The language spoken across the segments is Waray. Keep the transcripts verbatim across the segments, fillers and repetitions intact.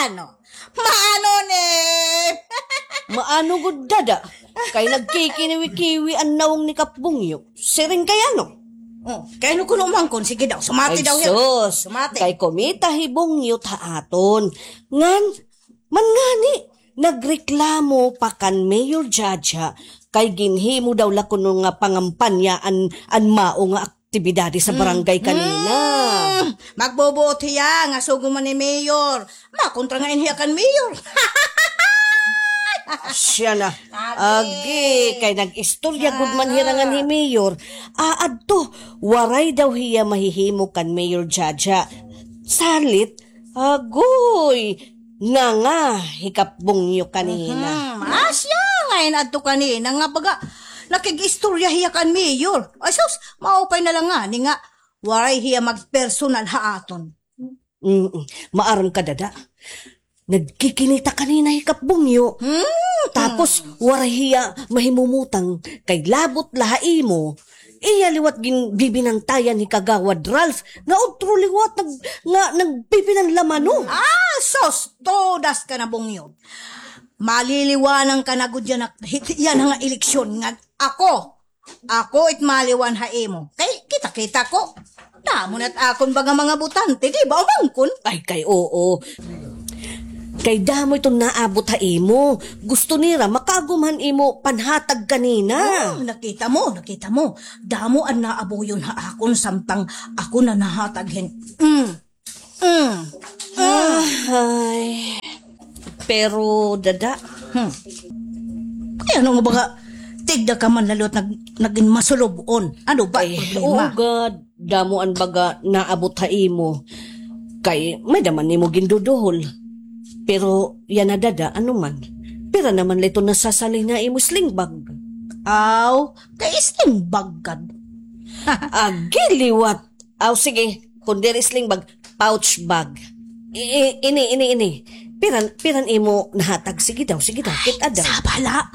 Ano? Maano ni? Maano gud, dada? Kay nagkikiniwi-kiwi an nawong ni Kap Bungyo. Siring kay ano? Oh, kay ano kuno umangkon? Sige daw, sumati daw hiya. Sus. Sumati. Kay kumita hi Bungyo ha aton. Ngan, man ngani, nagreklamo pa kan Mayor Jaja, kay ginhimo daw la kuno nga pangampanya an, an mao nga aktibidades ha barangay kanina. Mm. Magbubuot hiya nga sugo man ni Mayor. Makontra nga in hiya kan Mayor. Siya na. Agi. Agi, kay nag-istorya gud man hira ngan hi Mayor. Ah, adto, waray daw hiya mahihimo kan Mayor Jaja. Salit, agoy, nganga hi Kap Bungyo kanina. Mhm. Asya nga in adto kanina nga baga nakig-istorya hiya kan Mayor. Ay sus, maupay na la ngani nga waray hiya magpersonal ha aton. Mm, maaram ka, dada. Nagkikinita kanina hi Kap Bungyo. Hmm. Tapos, waray hiya mahimumutang kay labot la ha imo. Iya liwat ginbibinantayan hi Kagawad Ralph nga utro liwat nag-, nga nagbibinanlamano. Ah, sus! Todas ka na, Bungyo. Maliliwanan ka na gud yana, yana nga eleksyon nga ako, Ako it maliwan ha imo. Kay kita-kita ko. Damo na it akon baga mga botante, di ba, umangkon? Ay, kay oo. Kay damo iton naabot ha imo. Gusto nira makaagom han imo panhatag kanina. Oh, nakita mo, nakita mo. Damo an naabuyon ha akon samtang ako na nahatag hin. Mm. Mm. Ah. Ay. Pero, dada. Hmm. Kay ano nga baga, tigda ka man la liwat nag-, nagin masulub-on. Ano ba problema? Ay, oo, gad. Damo an baga naabot ha imo. Kay, may-ada man nimo ginduduhol. Pero, yana, dada, ano man. Pira naman la ito nasasalin ha imo sling bag? Aw, kay sling bag gad. Agi liwat. Aw, sige. Kun diri sling bag, pouch bag. I-, i-, ini, ini, ini. Piran, piran imo nahatag? Sige daw, sige daw. Kit-a daw. Sabala.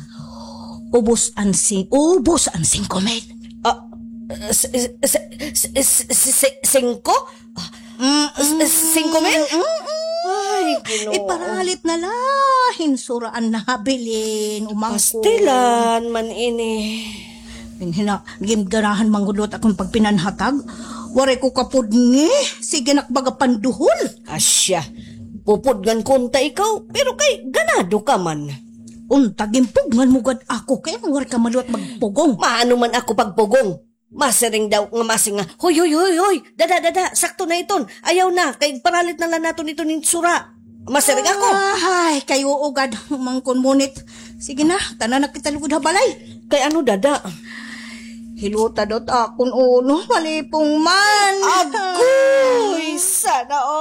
Ubos an sing-, ubos an singko mil. Ah, s-, s-, singko? Mm, s-, s-, singko mil? Mm, mm. Ay, Ginoo. Iparalit na la hin sura an nabilin, umangkon. Pastilan man ini. Hinhina, gimganahan man gud liwat akon pagpinanhatag. Waray ko kapudngi. Sige nak baga panduhol. Asya. Pupudngan ko unta ikaw, pero kay ganado ka man. Unta ginpudngan mo gad ako, kay waray ka man liwat magpugong. Maano man ako pagpugong? Masiring daw nga masing nga, "Hoy, hoy, hoy, hoy, dada, dada, sakto na iton. Ayaw na, kay paralit na la naton iton hin sura." Masiring ako. Ay, kay oo gad, umangkon mo nit. Sige na, tana na kita lugod ha balay. Kay ano, dada? Hilota daw it akon ulo, malipong man. Agoy, sana all.